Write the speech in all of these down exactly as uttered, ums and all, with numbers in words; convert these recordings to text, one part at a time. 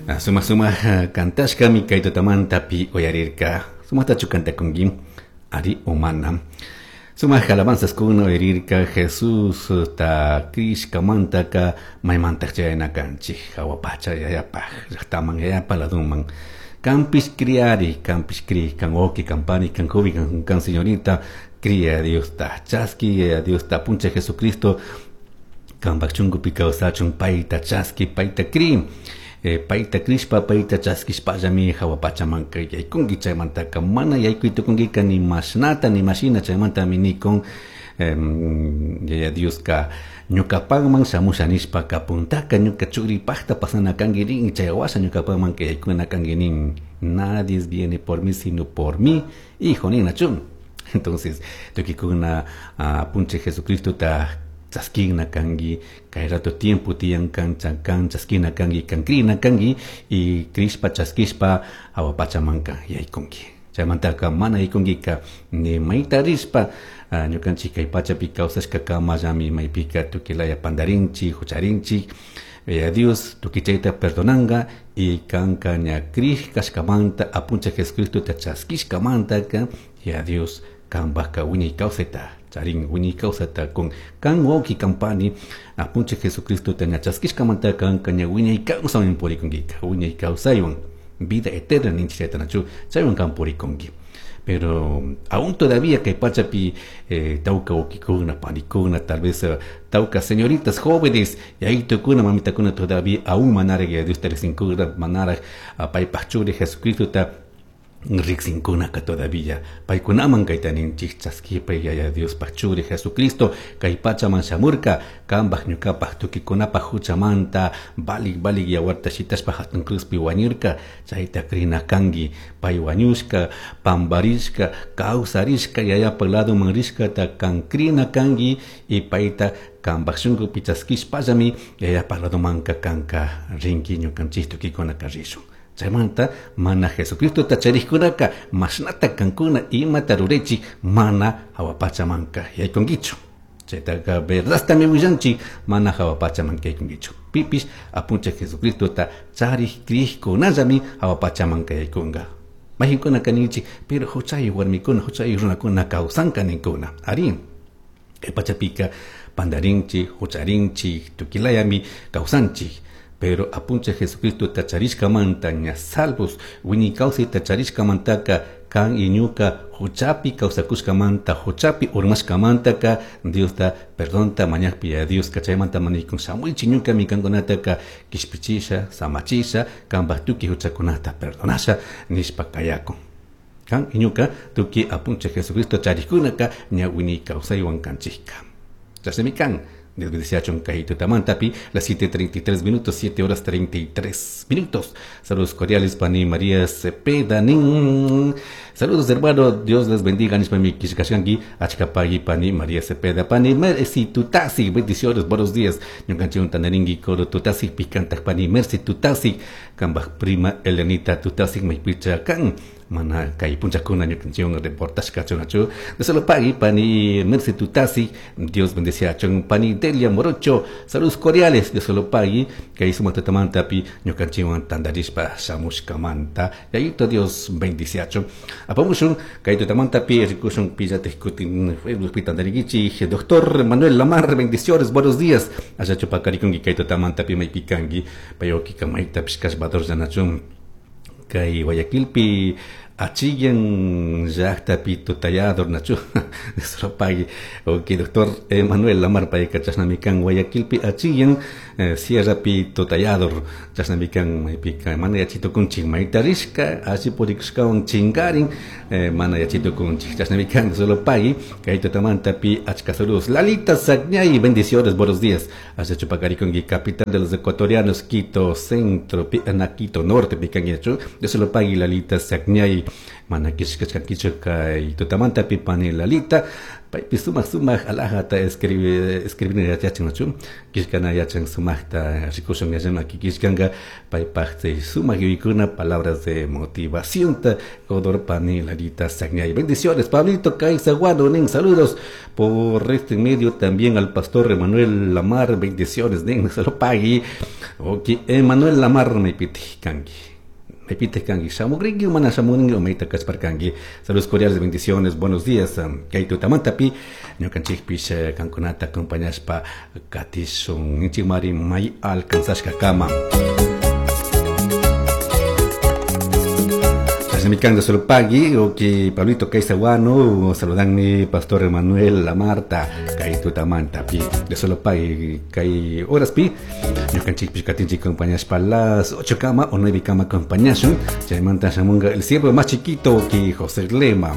Sumaj sumaj kantashkami kay tutamantapi uyarirka. Sumajtachu kantakunki ari umana. Sumaj alabanzaskuna uyarirka Jesus ta krishkamantaka maymantaq chayana kanchik hawa pacha yayapaj llaqtaman yayapa laduman. Kanpish kriari, kanpish kri, kan wawqi, kan pani, kan joven, kan, kan señorita, cria Dios ta chaski, Dios ta puncha Jesucristo, kanpak chunkupi kawsachun payta chaski, payta kri. Eh, payta krishpa, payta chaskishpallami hawa pachamanka yaykunki chaymantaka mana yaykuy tukunkika ni mashnata ni mashina chaymantami nikun yaya Dioska ñukapakman shamusha nishpaka puntaka ñuka churipakta pasana kanki rin chay washa ñukapakmanka yaykuna kanki nin. Nadie viene por mí sino por mi hijo ninachu. Entonces tukikuna uh, punche Jesucristo ta chaskina kanki kay rato tiempo tiyan kan kan chaskina kanki kan krina kanki y krishpa chaskishpa hawa pachamanka yaykunki. Chaymantaka mana yaykunkika ni mayta rishpa ñukanchik kay pachapi kawsashka kamallami maypika tukilaya pandarinchik hucharinchik. Ya Dios tukuy chayta perdonanga y kanka ña krij kashkamanta apuncha Jesucristo ta chaskishkamantaka ya Dios kanpajka wiñay kawsayta charin wiñay kawsayta con kan wawqi kan pani apuncha Jesucristo ta ña chaskishkamanta kanka ña wiñay kawsaywan purikunkika wiñay kawsaywan vida eterna ninchik chaytanachu chaywan kan purikunki. Pero aún todavía kay pachapi eh, tawka wawqikuna panikuna tal vez uh, tawka señoritas jóvenes yayitukuna mamitakuna todavía aún manaraq ya Diosta riqsinkuna manaraq uh, paypaj churi Jesucristo ta riqsinkunaka todavía paykunaman kayta ninchik chaskipay yaya Diospaj churi Jesucristo kay pachaman shamurka kanpaj ñukapaj tukikunapaj huchamanta valik valik yawarta shitashpa hatun cruzpi wañurka chayta krina kanki pay wañushka pamparishka kawsarishka yayapaj laduman rishkata kan krina kanki y payta kanpaj shunkupi chaskishpallami yayapaj ladumanka kanka rinki ñukanchik tukikunaka rishun. Chaymanta mana Jesucristo ta charikkunaka mashnata kankuna imata ruraychik mana hawa pachamanka yaykunkichu. Chaytaka verdadtami willanchik mana hawa pachamanka yaykunkichu. Pipish apuncha Jesucristo ta charij krishkunallami hawa pachamanka yaykunka. Mayqinkuna kaninchik pero huchayuq warmikuna huchayuq runakuna kawsanka ninkuna. Ari kay pachapika pandarinchik hucharinchik tukilayami kawsanchik. Pero apuncha Jesucristo ta charishkamanta ña salvos wiñay kawsayta charishkamantaka kan y ñuka huchapi kawsakushkamanta huchapi urmashkamantaka Diosta perdonta mañakpi ya Dios chaymanta manikun shamuychik ñukami kankunataka kishpichisha samachisha kanpaj tukuy huchakunata perdonasha nishpa kayakun. Kan y ñuka tukuy apuncha Jesucristo charikkunaka ña wiñay kawsaywan kanchikka. Chashnami kan. Dios bendice kay tutamantapi, las siete treinta y tres minutos, siete horas treinta y tres minutos. Saludos cordiales, Pani María Cepeda. Nin. Saludos, hermano. Dios les bendiga. Nishpami kishkashanki, achkapagi, Pani María Cepeda. Pani Mercy Tutasi, bendiciones, buenos días. Ñukanchik tanaringi, coro Tutasi, picantaj, Pani Mercy Tutasi, kambaj prima Elenita Tutasi, maypicha kan. Mana kay punchakuna ñukanchik reportaje kachunachu. De solo pagui, Pani Mercy Tutasi, Dios bendice a chon Pani Delia Morocho, saludos cordiales, Dios solo pagui, kay sumatamantapi ñukanchikwan tandarishpa shamushkamanta. Yayito Dios bendice a chon. Apamushun kay tutamantapi rikushun pillate kutin Facebook pitandarikichi, doctor Manuel Lamar, bendiciones, buenos días. Allá chupakarikunki kay tutamantapi maypikanki, payoki kamaita pishkashbador yanachun. Kay Guayaquilpi achillan llaqtapi tutayador nachu pagui. Ok, doctor Manuel Lamar payka chashnami kan Guayaquilpi achillan eh, sierrapi tutayador chashnami kan maypika mana yachitukunchik mayta rishka alli purikushkawan chinkarin eh, mana yachitukunchik chashnami kan solo pagui kay tutamantapi achka saludos. Lalita Sagñay, bendiciones, buenos días. Allá chupakarikunki capital de los ecuatorianos, Quito Centro, pi, na, Quito Norte pikanki nachu de solo pagui Lalita Sagñay. Mana kishkashkankichu kay tutamantapi pani Lalita paypi sumaq sumaq alajata escribe escribir yachachin kishkana yachan sumaqta rikushun yachamaki kishkanka paypaq chay sumaq yuyaykuna palabras de motivación ta Godor pani Lalita Sagñay. Bendiciones Pablito Caizaguano nin saludos por este medio también al pastor Emanuel Lamar, bendiciones nin se lo pagui. Ok, Emanuel Lamar me piti kanki. Me pite kangi shamugringi mana shamuringi o meita kachparkangi. Saludos cordiales, bendiciones, buenos días. Kay tutamantapi ñukanchikpish kankunata acompañashpa katishun inchikmari may alcanzashka kama. Mikando solo pagui o que Pablito Caizaguano saludan mi pastor Emanuel La Marta kay tutamanta pi de solo pagui kay horas pi ñukanchikpish katinchik acompañashpa las ocho kama o nueve kama acompañashun chaymanta shamunga el siervo más chiquito que José Lema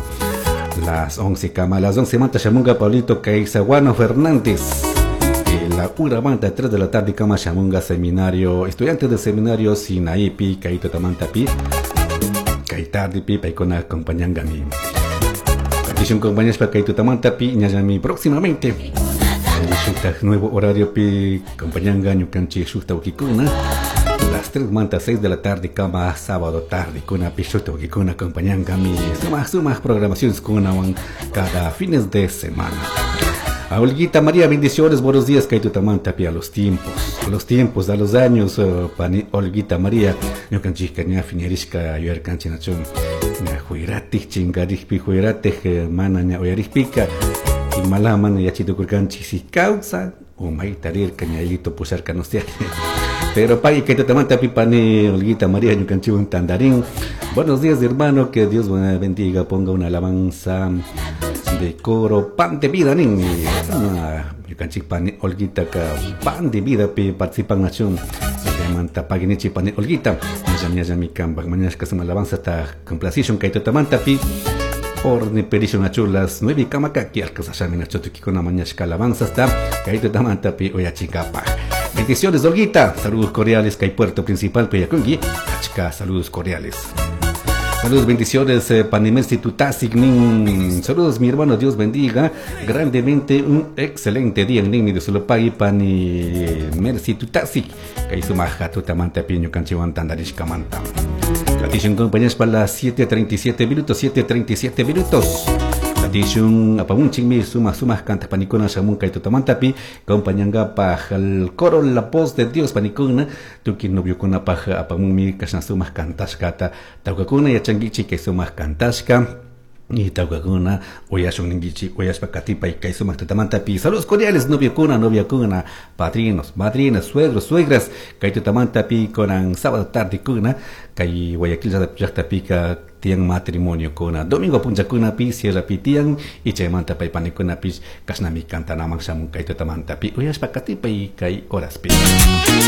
las once kama las once manta shamunga Pablito Caizaguano Fernández la una manta tres de la tarde kama shamunga seminario estudiantes del seminario Sinaí pi kay tutamanta pi kay tarde pi paykuna acompañangami. Katishun compañeros kay tutamanta pi ñallami próximamente. Shukta nuevo horario pi acompañanga ñukanchik shukta ukikuna las tres manta seis de la tarde kama sábado tarde kuna pi shukta ukikuna acompañangami sumaq sumaq programaciones kunawan cada fines de semana. A Olguita María, bendiciones, buenos días, kay tutamanta pi a los tiempos, a los tiempos, a los años, uh, pani Olguita María, ñukanchikka ña fiñarishka yuyarkanchik nachun, ña huiratik chinkarikpi huiratik mana ña uyarikpika, imala mana yachitukurkanchik si kawsan, o mayta rirka ñayito pusharka no sé. Pero pagui kay tutamanta pi pani Olguita María, ñukanchikwan tandarín. Buenos días, hermano, que Dios bendiga, ponga una alabanza de coro pan de vida nin ñukanchik pani Olguita ka pan de vida pi participan nación manta paginichi pani Olguita ñallami ñallami kanpak mañashka suma alabanza ta complacishun kay tutamanta pi orni perishun nachu las nueve kamakaki alcanzashami nachu tukikuna mañashka alabanza ta kay tutamanta pi uyachinkapaj. Bendiciones Olguita, saludos cordiales kay Puerto Principal Peyakungi, achka saludos cordiales. Saludos, bendiciones, eh, Panimersi Tutasik, nin. Saludos, mi hermano, Dios bendiga grandemente, un excelente día, nin, de Solopagui, Panimersi Tutasik. Kay sumaja tutamanta piño canchiwan tandarishka manta. Katishun compañeros para las siete treinta y siete minutos, siete treinta y siete minutos. Katishun apamunchikmi suma suma canta panikuna shamun kay tutamantapi compañanga paj el coro la voz de Dios panikuna tuki noviokuna paj apamunmi kashna sumaq kantashkata tawkakuna yachankichik kay sumaq kantashka y tawkakuna uyashun ninkichik uyashpa katipay kay sumaq tutamantapi. Saludos cordiales noviokuna noviakuna padrinos madrinas suegros suegras kay tutamantapi konan sábado tarde kuna kay Guayaquil llaqtapika tiyan matrimonio kuna domingo punchakuna pi sierra pi tiyan y chaymanta pay panikuna pi kashnami kantanaman shamun kay tutamantapi uyashpa katipay kay horas pi.